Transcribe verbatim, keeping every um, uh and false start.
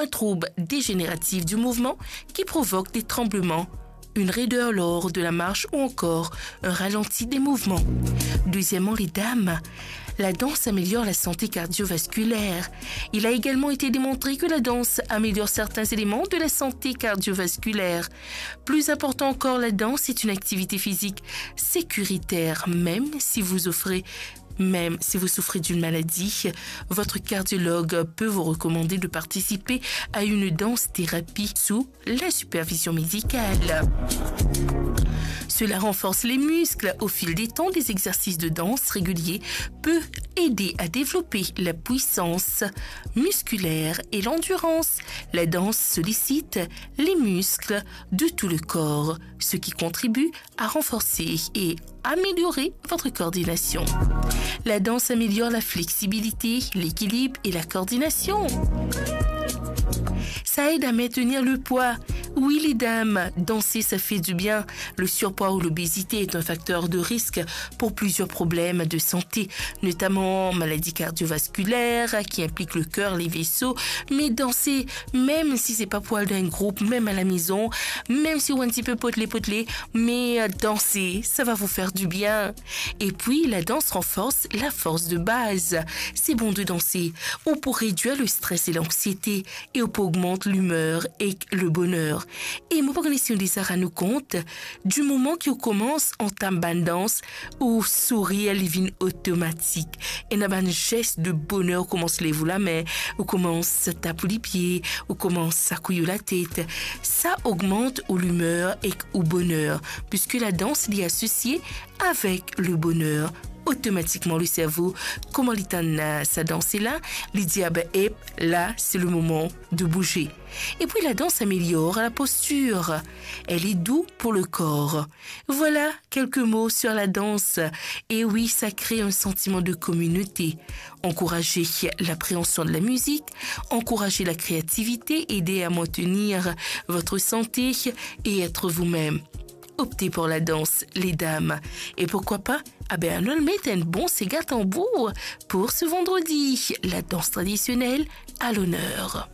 un trouble dégénératif du mouvement qui provoque des tremblements, une raideur lors de la marche ou encore un ralenti des mouvements. Deuxièmement, les dames, la danse améliore la santé cardiovasculaire. Il a également été démontré que la danse améliore certains éléments de la santé cardiovasculaire. Plus important encore, la danse est une activité physique sécuritaire, même si vous offrez même si vous souffrez d'une maladie, votre cardiologue peut vous recommander de participer à une danse thérapie sous la supervision médicale. Cela renforce les muscles. Au fil des temps, des exercices de danse réguliers peuvent aider à développer la puissance musculaire et l'endurance. La danse sollicite les muscles de tout le corps, ce qui contribue à renforcer et améliorer votre coordination. La danse améliore la flexibilité, l'équilibre et la coordination. Ça aide à maintenir le poids. Oui, les dames, danser, ça fait du bien. Le surpoids ou l'obésité est un facteur de risque pour plusieurs problèmes de santé, notamment maladies cardiovasculaires qui impliquent le cœur, les vaisseaux. Mais danser, même si c'est pas pour aller dans un groupe, même à la maison, même si ou un petit peu potelé potelé, mais euh, danser, ça va vous faire du bien. Et puis, la danse renforce la force de base. C'est bon de danser. Ou pou redwir le stress et l'anxiété, e ou pou ogmant limwer ek le boner. E mo pa kone si ou deza rann ou kont, di moman ki ou koumans antam bann dans, ou sourir li vinn otomatik. Ena bann zes de boner, ou koumans lev ou lame, ou koumans tap ou lipie, ou koumans sakouy ou latet. Sa ogmant ou limwer ek ou boner, puiske la dans li asosie avek le boner. Otomatikman, le servo, kouma li tann sa dans la, li dir, "Ah ben, ep, la, c'est le moment de bouger." Et puis, la danse améliore la posture. Elle est doux pour le corps. Voilà quelques mots sur la danse. Et oui, ça crée un sentiment de communauté. Encouragez l'appréhension de la musique, encouragez la créativité, aidez à maintenir votre santé et être vous-même. Optez pour la danse, les dames. Et pourquoi pas, ah ben, anou al met enn bon sega tanbour pour ce vendredi. La danse traditionnelle à l'honneur.